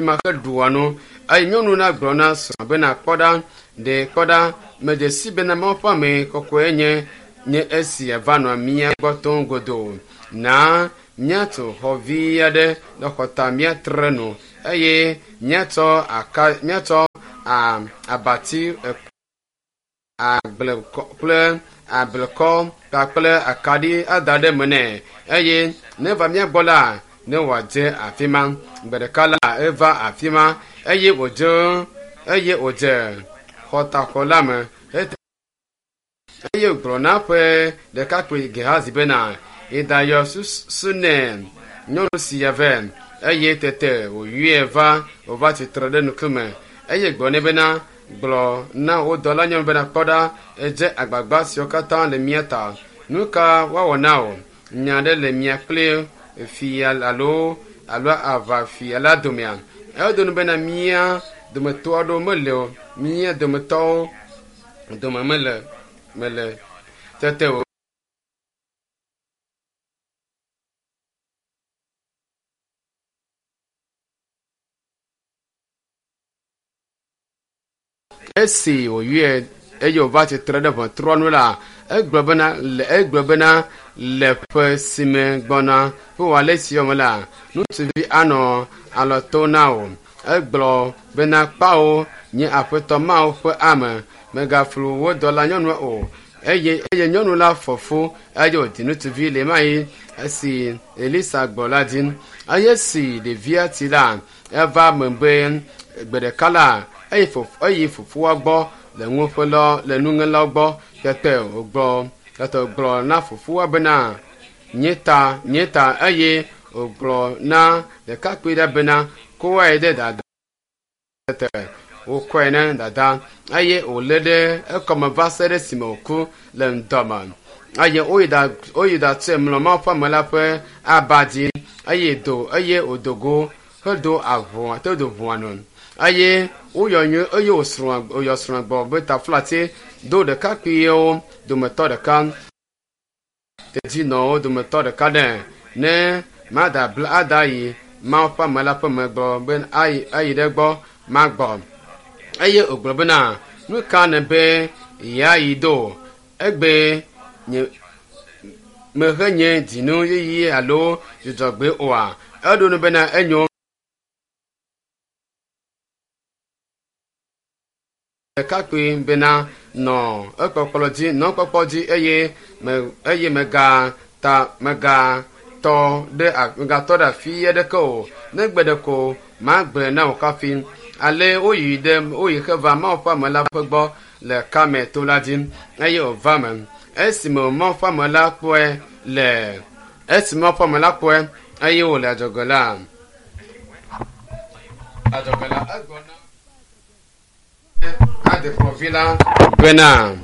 Ma heɖua nu eye nyɔnu la gblɔ na srɔ̃a bena kpɔ ɖa, ɖe kpɔ ɖa, medze si bena Mawu ƒe ame kɔkɔe nye nye esia va nɔa mía gbɔ tom godoo. Na míatu xɔ vi aɖe le xɔta míatre nu eye míatsɔ aka míatsɔ a abati agblekɔ kple ablekɔ kpakple akaɖi ada ɖe eme nɛ eye ne eva mía gbɔ la ne wòadze afi ma. Gbe ɖeka la eva afi ma eye wòdze eye wòdze xɔtaxɔ la me eye wògblɔ na eƒe ɖekakpui Gehazi bena, yi ɖayɔ Sunem nyɔnu sia vɛ. Eye tete wòyɔe va wòva tsitre ɖe ŋkume eye gblɔ nɛ bena, gblɔ na wò dɔlanyɔnu bena, kpɔ ɖa, edze agbagba siwo katã le mía ta. Nu ka woawɔ na wò? Nya aɖe le mia kple fia alo alo aʋafia la domea? Edo nu bena mía dometɔ aɖewo mele o, mía dometɔwo dome mele mele. Tete wò Esi wòyɔe eye wòva tsitre ɖe ʋɔtrua nu la, egblɔ bena le egblɔ bena le ƒe si me gbɔna ƒe wòale si me la, ŋutsuvi anɔ alɔ to na wò. Egblɔ bena kpao, nye aƒetɔ Mawu ƒe ame, mègaflu wò dɔlanyɔnua o. Eye eye nyɔnu la fɔ fu eye wòdzi ŋutsuvi le ɣemaɣi esi Elisa gbɔ la dzi. Eye esi ɖevia tsi la, eva eme be gbe ɖeka la, eyi fof eyi fofoa gbɔ le nuƒelɔ le nuŋelawo gbɔ. Tete wògblɔ tete wògblɔ na fofoa bena, Nye ta, nye ta. Eye wògblɔ na ɖekakpui ɖe bena, Kɔe ɖe dada. Tete wòkɔe na dada eye wòlé ɖe ekɔme va se ɖe esime wòku le ŋdɔ me. Eye woyi ɖa woyi ɖatsɔe mlɔ Mawu ƒe ame la ƒe aba dzi eye do eye wòdo go hedo aʋua hedo ʋua nu. Eye woyɔ nyui eye wòsrɔ̃a wòyɔ srɔ̃a gbɔ be taflatse do ɖekakpuiwo dometɔ ɖeka. Tedzinɔwo dometɔ ɖeka ɖe ne mada bla ada yi Mawu ƒe ame la ƒe me gblɔ be ayi ayi ɖe egbɔ magbɔ. Eye wògblɔ bena, nu ka nèbe yeayi do? Egbe nye mehenye dzinu yeye alo dzudzɔgbe oa? Eɖo nu bena enyo. Ɖekakpui bena, Nɔ ekpɔkplɔ dzi, nɔ ekpɔkpɔ dzi eye me, eye mègata, mègatɔ ɖe, mègatɔ ɖe afi aɖeke o, negbe ɖeko magblɔe na wò hafi. Ale woyi ɖe, woyi heva Mawu ƒe ame la ƒe gbɔ le Karmel to la dzi, eye wòva eme. Esime Mawu ƒe ame la kpɔe le, esime Mawu ƒe ame la kpɔe eye wòle adzɔge la, adzɔge la, egblɔ na adekplɔvi la bena.